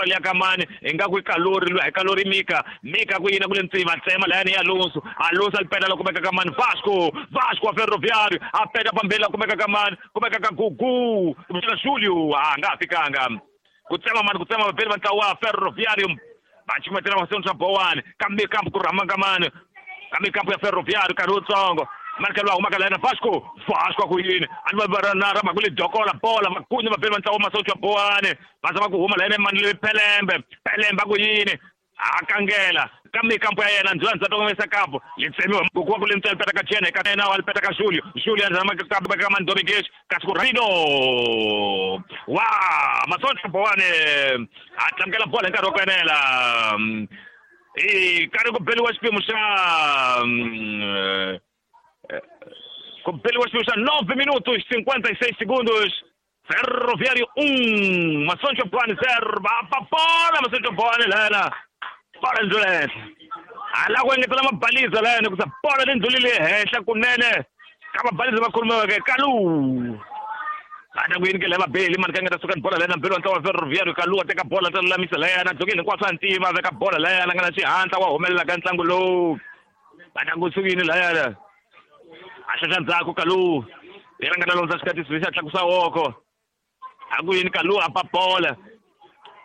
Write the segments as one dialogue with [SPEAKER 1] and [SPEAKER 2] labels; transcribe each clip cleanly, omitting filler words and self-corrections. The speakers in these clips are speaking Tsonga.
[SPEAKER 1] Ya kamani ingaku i kalori lwa hi kalori Mika Mika ku yina ku le ntsima tsema layani ya Alonso Alonso alipeta la kumeka kamani Vasco Vasco wa Ferroviário a peta pambeni la kumeka kamani kumeka ka Gugu kumbexana Julio a nga ha fikanga ku tsema mani ku tsema vabeli va ntlawa wa Ferroviário va cukumetela mahlweni swa Bowani kambe kambe ku rhama kamani kambe kampu ya Ferroviário nkarhi wutsongo Marcelo a humaka layana Vasco Vasco ku yini a ni va na rama ku le dokola bola makunye vabeli va ntlawa masocha Bowani va zama ku huma layana mani Pelembe Pelembe a ku yini a kangela kambe kampo ya yena ndzula ndzata kongomisa kampo li tsemiwa ku ku le ntsena peta ka Jene ka yena wa peta ka Julio Julio zama ka kampo ka mani Domingues kasi ku Rino wa masocha Bowani a tlangela bola hi nkarhi wa ku enela i karhi ku beliwa xiphemu xa ku beliwa xiphemu xa 9 minutos 56 segundos. Ferroviário 1, Maçoncho Boane 0, va bola Maçoncho Boane lana. Bola ndlula henhla. Ala ku engetela mabaliza layani ku sa bola leyi ndlulile henhla kunene ka mabaliza va khulumiweke Kalu. Ana ku yini ke lava beli mani ka nga ta suka ni bola layana mbeli wa ntlawa wa Ferroviário Kalu a teka bola ta lulamisa layana dzokeni hinkwaswo a ntima veka bola layana nga na xihatla wa humelela ka ntlangu lowu. Ana ku sukini layana. A xaxa ndzhaku Kalu. Yena nga ta londza xikatisi xa tlakusa woko. A ku yini Kalu a pa bola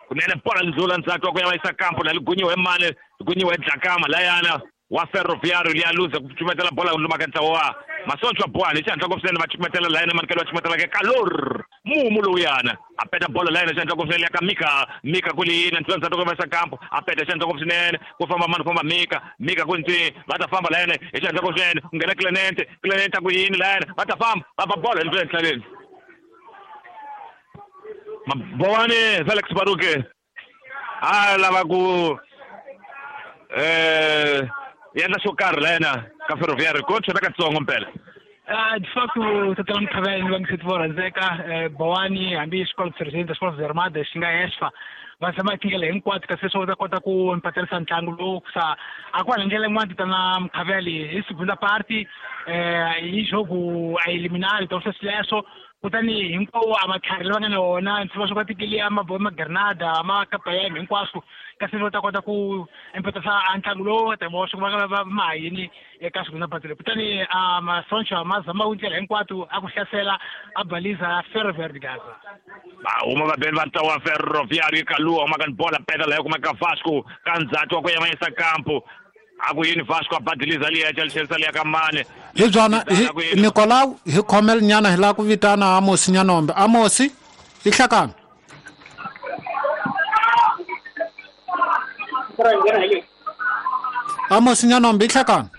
[SPEAKER 1] kunene bola ndlula ndzhaku wa ku ya va yisa kampo la ligunyiwe mani ligunyiwe Dlakama layana wa Ferroviário liya luza ku cukumetela bola luma ka ntlawa wa Masocha Bowani xihatla ngopfu swinene va cukumetela layana mani va cukumetela ke Kalor mumu lowuyana a peta bola layana xihatla ngopfu swinene ya ka Mika Mika ku liyini ndlula ndzhaku ku va yisa kampo a peta xihatla ngopfu swinene ku famba mani ku famba Mika Mika ku ntsi va ta famba layana hi xihatla ngopfu swinene ku nghena Clemente Clemente a ku yini layana va ta famba va ba bola hi ndlula enhlaleni. Bowani Felix Baruke a lava ku endla xo karhi layena ka Ferroviário ko chela katsongo mpela.
[SPEAKER 2] De facto tatana Mkhavela va nge se vo rhandzeka Bowani hambi xikolo president xikolo Armadas xi nga ESFA va zama tindlela hinkwato kasi leswaku va ta kota ku empaterisa ntlangu lowu sa a ku ndlela yin'wana tatana Mkhavela hi segunda parte hi jogo a eliminar então sweswo kutani hinkwawo a matlhari lava nga na wona ndzi swo va tekele ma Granada ma Kapayem hinkwaswo kasi va ta kota ku empatisa a ntlangu lowu ta va swi va va ma yini eka segunda parte leyi kutani a masoncha ma zama ku ndlela hinkwato a ku hlasela a baliza Ferroviário de Gaza.
[SPEAKER 1] Va huma vabeli va ntlawa wa Ferroviário Kalu huma ka ni bola peta leyo kuma ka Vasco ka ndzhaku wa ku ya va yisa kampo a ku yini Vasco a badiliza liya chelisa liya ka mani
[SPEAKER 3] hi byona hi Nicolau hi khomel nyana hi lava ku vitana Amosi Nyanombe. Amosi i hlakani Amosi Nyanombe i hlakani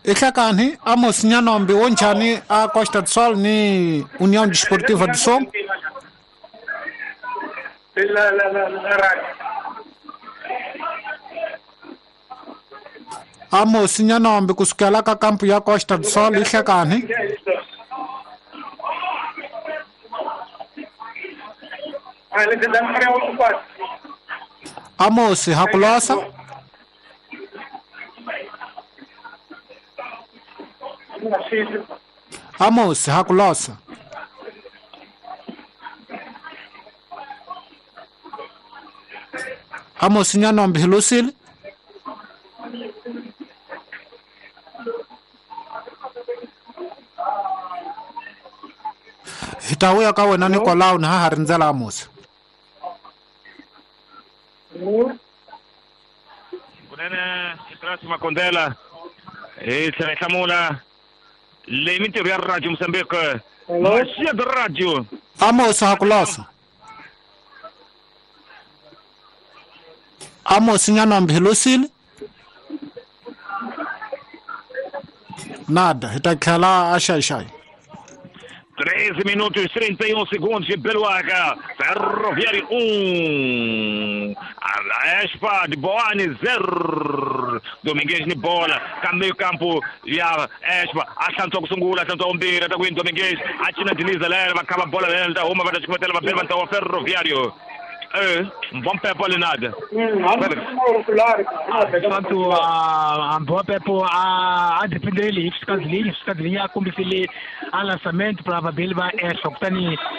[SPEAKER 3] i hlakani Amos Nyanombe wo njhani a Costa do Sol ni União Desportiva do Sol. Amos Nyanombe kusukela ka kampu ya Costa do Sol i hlakani. Amos hakulosa Amos hakulosa Amos Nyanombe hi lusile hi ta vuya ka wena Nicolau ni ha ha rindzela Amos.
[SPEAKER 1] Kunene Trasi Makondela hi tlhela hi hlamula leyi mintirho ya radio Mozambique Maxia de radio.
[SPEAKER 3] Amos hakulosa Amos Nyanombe hi lusile nada hi ta tlhela a xaixai.
[SPEAKER 1] 13 minutos 31 segundos de Beluaga. Ferroviário 1. A Espa de Boane 0. Domingues ni bola. Ka meio campo ya Espa. A hlantswa ku sungula, hlantswa vumbirhi, ta ku yini Domingues. A cina diliza lera, va khava bola lera, ta huma va ta cukumetela vabeli va ntlawa wa Ferroviário. Mbompepo Leonardo.
[SPEAKER 2] De facto, a Mbopepo a dependele hi fiscal de linha, fiscal de linha a kombisile a lançamento para vabeli va Esfa, kutani